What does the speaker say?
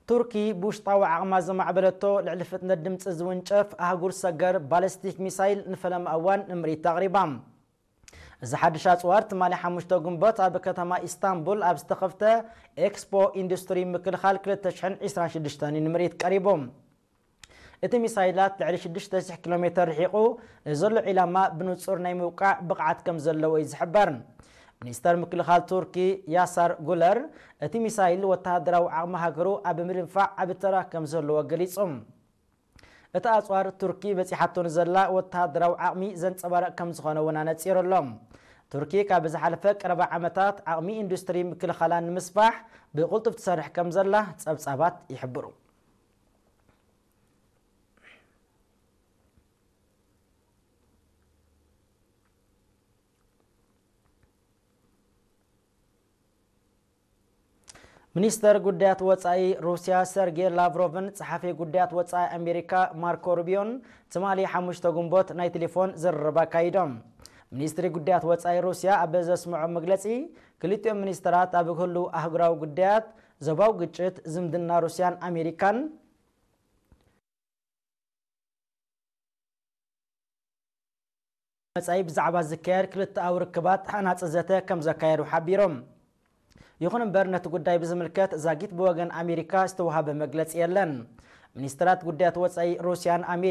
ቱርኪ ብውሽጣዊ ዓቕማ ዘማዕበለቶ ልዕሊ ፍጥነት ድምፂ ዝውንጨፍ ኣህጉር ሰገር ባለስቲክ ሚሳይል ንፈለማ እዋን ንምርኢት ኣቕሪባ። እዚ ሓድሽ ኣፅዋር ትማሊ ሓሙሽተ ግንቦት ኣብ ከተማ ኢስታንቡል ኣብ ዝተኸፍተ ኤክስፖ ኢንዱስትሪ ምክልኻል ክልተ ሽሕን ዕስራን ሽዱሽተን እዩ ንምርኢት ቀሪቡ። እቲ ሚሳይላት ልዕሊ ሽዱሽተ ሽሕ ኪሎ ሜትር ርሒቑ ንዘሎ ዒላማ ብንጹር ናይ ምውቃዕ ብቕዓት ከም ዘለዎ እዩ ዝሕበር። ሚኒስተር ምክልኻል ቱርኪ ያሳር ጉለር፣ እቲ ሚሳይል ወተሃደራዊ ዓቕሚ ሃገሩ ኣብ ምድንፋዕ ዓቢ ተራ ከም ዘለዎ ገሊጹ። እቲ ኣጽዋር ቱርኪ በጺሓቶ ንዘላ ወተሃደራዊ ዓቕሚ ዘንጸባርቕ ከም ዝኾነ እውን ኣነጺሩ ኣሎ። ቱርኪ ካብ ዝሓለፈ ቀረባ ዓመታት ዓቕሚ ኢንዱስትሪ ምክልኻላ ንምስፋሕ ብቕልጡፍ ትሰርሕ ከም ዘላ ጸብጻባት ይሕብሩ። ሚኒስተር ጉዳያት ወጻኢ ሩስያ ሰርጌ ላቭሮቭን ጸሓፊ ጉዳያት ወጻኢ ኣሜሪካ ማርኮ ሩቢዮን ትማሊ ሓሙሽተ ግንቦት ናይ ቴሌፎን ዝርርብ ኣካይዶም። ሚኒስትሪ ጉዳያት ወጻኢ ሩስያ ኣብ ዘስምዖ መግለጺ፣ ክልቲኦም ሚኒስተራት ኣብ ህልው ኣህጉራዊ ጉዳያት፣ ዞባዊ ግጭት፣ ዝምድና ሩስያን ኣሜሪካን፣ መጻኢ ብዛዕባ ዝካየድ ክልተኣዊ ርክባት ሃናጺ ዘተ ከም ዘካየዱ ሓቢሮም። ይኹን እምበር፣ ነቲ ጉዳይ ብዝምልከት ዛጊት ብወገን ኣሜሪካ ዝተዋህበ መግለጺ የለን። ሚኒስትራት ጉዳያት ወጻኢ ሩስያን ኣሜሪካን